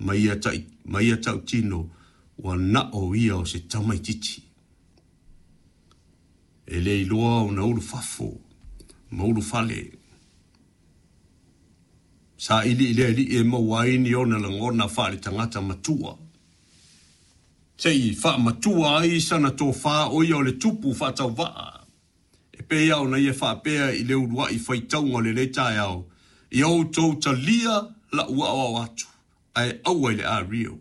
Ma ia, ma ia tautino ua na o ia o se tamaitiiti. E le iloa ona ulufafo ma ulufale. Saili i le alii e maua ai ni ona lagona faale-tagata matua. Se i faamatua ai sana tofa o ia o le tupu faatauvaa. E pei lava ona ia faapea i le uluai faitauga o lenei taeao, Ia outou talia la'u aoao atu, ae aua i le ario.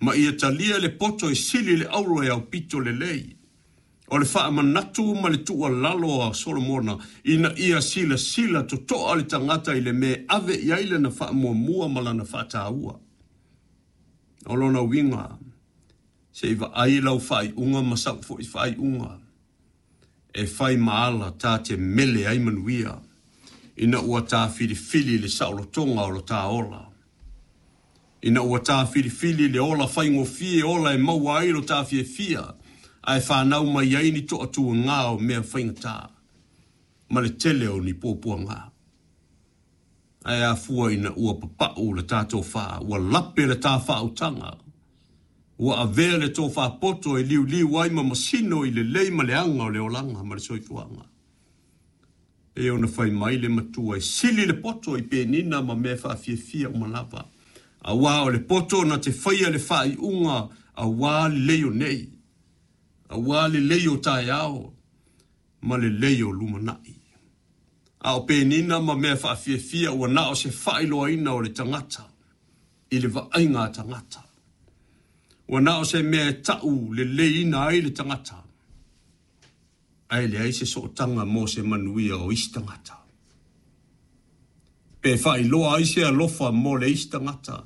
Ma ia talia le poto e sili le auro e aupito lelei. O le faamanatu ma le tuualalo a Solomona ina ia silasila totoa le tagata i le mea e ave i ai lana faamuamua ma lana faataua. O lona uiga, se i vaai lau faaiuga ma sau foi faaiuga e fai ma ala ta te mele ai manuia ina ua ta filifili le saolotoga o lo ta ola. Ina ua ta filifili le ola faigofie ola e maua ai lo ta fiafia ae fanau mai ai ni toatuaga o mea faigata ma le tele o ni puapuaga. Ae afua ina ua papau le ta tofa, ua lape le ta faautaga, ua avea le tofa poto e liuliu ai ma masino i lelei ma leaga o le olaga ma le soifuaga. E ona fai mai le matua e sili le poto i penina ma mea faafiafia uma lava. Auā o le poto na te faia le faaiuga auā lelei o nei, auā lelei o taeao ma lelei o lumanai. A o penina ma mea faafiafia ua na o se faailoaina o le tagata i le vaaiga a tagata. Ua na o se mea e tau leleiina ai le tagata, ae leai se sootaga mo se manuia o isi tagata. Pe faailoa ai se alofa mo le isi tagata,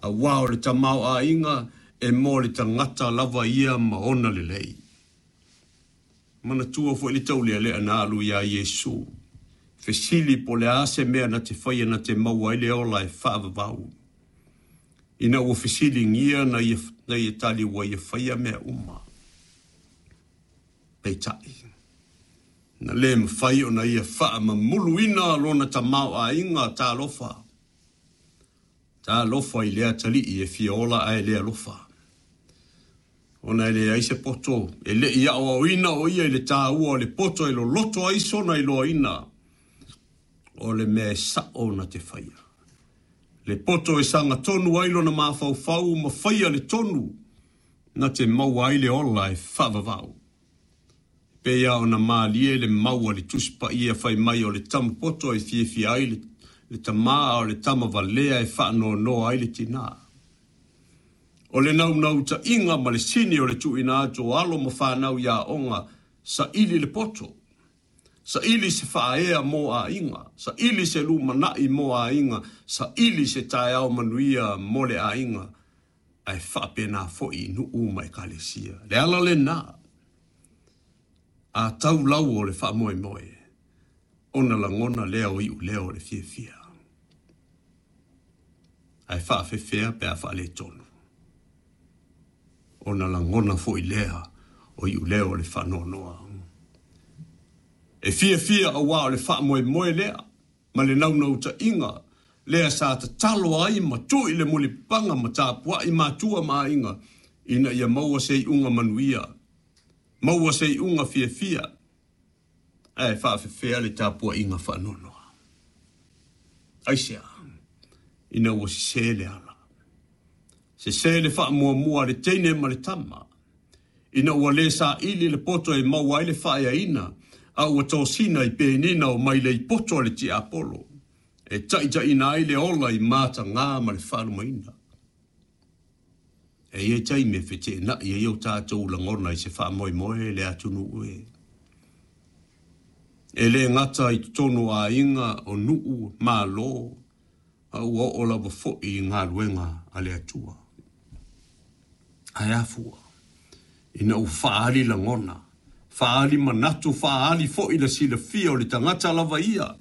auā o le tamaoaiga e mo le tagata lava ia ma ona lelei. Manatua foi le taulealea na alu iā Iesu, fesili po o le a se mea na te faia na te maua ai le ola e faavavau. Ina ua fesiligia na ia, na ia tali ua ia faia mea uma. Peitai, na le mafai ona ia faamamuluina lona tamaoaiga. Talofa, talofa i le atalii e fia ola ae le alofa. Ona e leai se poto, e le i aoaoina o ia i le taua o le poto e loloto ai sona iloaina o le mea e sao na te faia. Le poto e sagatonu ai lona mafaufau ma faia le tonu na te maua ai le ola e faavavau. E pei lava ona malie le mau a le Tusi Paia fai mai o le tama poto e fiafia ai le tama, a o le tama valea e faanoanoa ai le tinā. O le naunautaiga ma le sini o le tuuina atu o alo ma fanau i aoga, saili le poto, saili se faaea mo aiga, saili se lumanai mo aiga, saili se taeao manuia mo le aiga, ae faapena foi i nuu ma ekalesia. Le ala lena, a tau lau o le faamoemoe, ona lagona lea o iuleo o le fiafia. Ae faafefea pe a faaletonu, ona lagona foi lea o iuleo o le faanoanoa. E fiafia auā o le faamoemoe lea ma le naunautaiga lea sa tatalo ai ma tui le mulipapaga ma tapuai matua ma aiga ina ia maua se iuga manuia, maua se iuga fiafia, ae faafefea le tapuaiga faanoanoa. Aisea? Ina ua sese le ala, sese le faamuamua a le teine ma le tama, ina ua le saili le poto e maua ai le faaeaina, a ua tosina i penina o mailei poto a le tiapolo, e taitaiina ai le ola i matagā ma le faalumaina. E i ai taimi e feteenai ai o tatou lagona i se faamoemoe le atunuu e. E le gata i totonu o aiga, o nuu, malo, a ua oo lava foi i galuega a le Atua. Ae afua ina ua faaali lagona, faaali manatu, faaali foi le silafia o le tagata lava ia.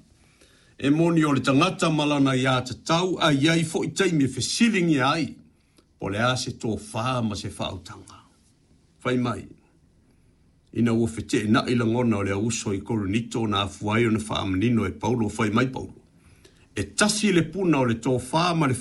E moni o le tagata ma lana aiatatau, ae i ai foi taimi e fesiligia ai po o le a se tofa ma se faautaga. Fai mai, ina ua feteenai lagona o le auuso i Korinito na afua ai ona faamanino e Paulo, fai mai Paulo, e tasi le puna o le tofa ma le